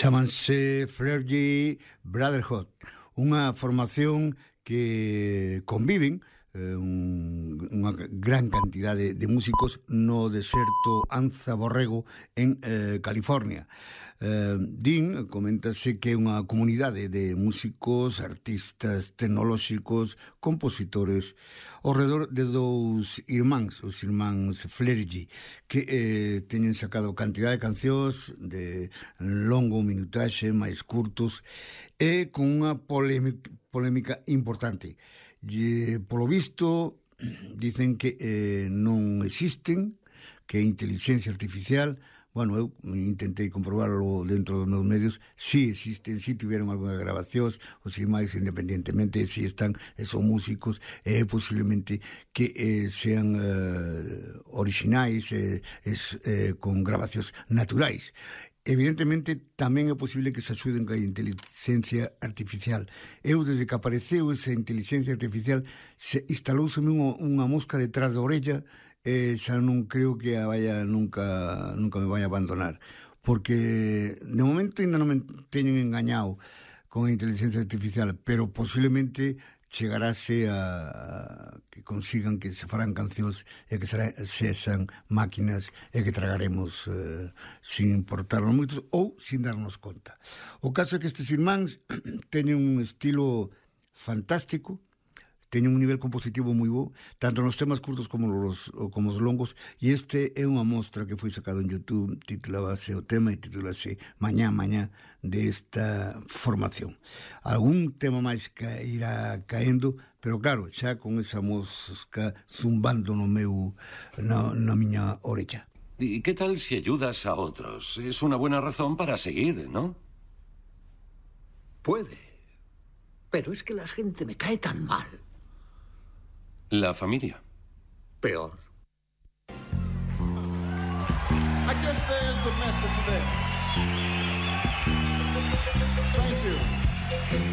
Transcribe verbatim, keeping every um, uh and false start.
Chámanse Flergy Brotherhood, unha formación que conviven eh, un, unha gran cantidade de músicos no deserto Anza Borrego en eh, California. Eh, din, coméntase que é unha comunidade de músicos, artistas tecnolóxicos, compositores, ao redor de dous irmáns, os irmáns Flergy, que eh, teñen sacado cantidad de cancións de longo minutaxe, máis curtos, e con unha polémica, polémica importante. E, polo visto, dicen que eh, non existen, que é inteligencia artificial. Bueno, eu intentei comprobarlo dentro dos meus medios. Si existen, si tiveron algunha grabacións, os irmáns independentemente si están, e son músicos, e posiblemente que eh, sean eh, orixinais, eh, es, eh, con grabacións naturais. Evidentemente, tamén é posible que se axuden ca inteligencia artificial. Eu, desde que apareceu esa inteligencia artificial, se instalouseme unha, unha mosca detrás da orella, e xa non creo que a vaya nunca nunca me vai a abandonar, porque de momento ainda non me teñen engañado con a inteligencia artificial, pero posiblemente chegarase a que consigan que se farán cancións e que sexan máquinas e que tragaremos eh, sin importarnos moitos ou sin darnos conta. O caso é que estes irmáns teñen un estilo fantástico, teñen un nivel compositivo moi bo, tanto nos temas curtos como os, como os longos, e este é unha mostra que foi sacado en YouTube, titulábase o tema e titulase Mañá, Mañá, desta formación. Algún tema máis que irá caendo, pero claro, xa con esa mosca zumbando no meu, na, na miña orella. ¿Y qué tal si ayudas a otros? Es una buena razón para seguir, ¿no? Puede, pero es que la gente me cae tan mal. La familia. Peor. I guess there's a message there. Thank you.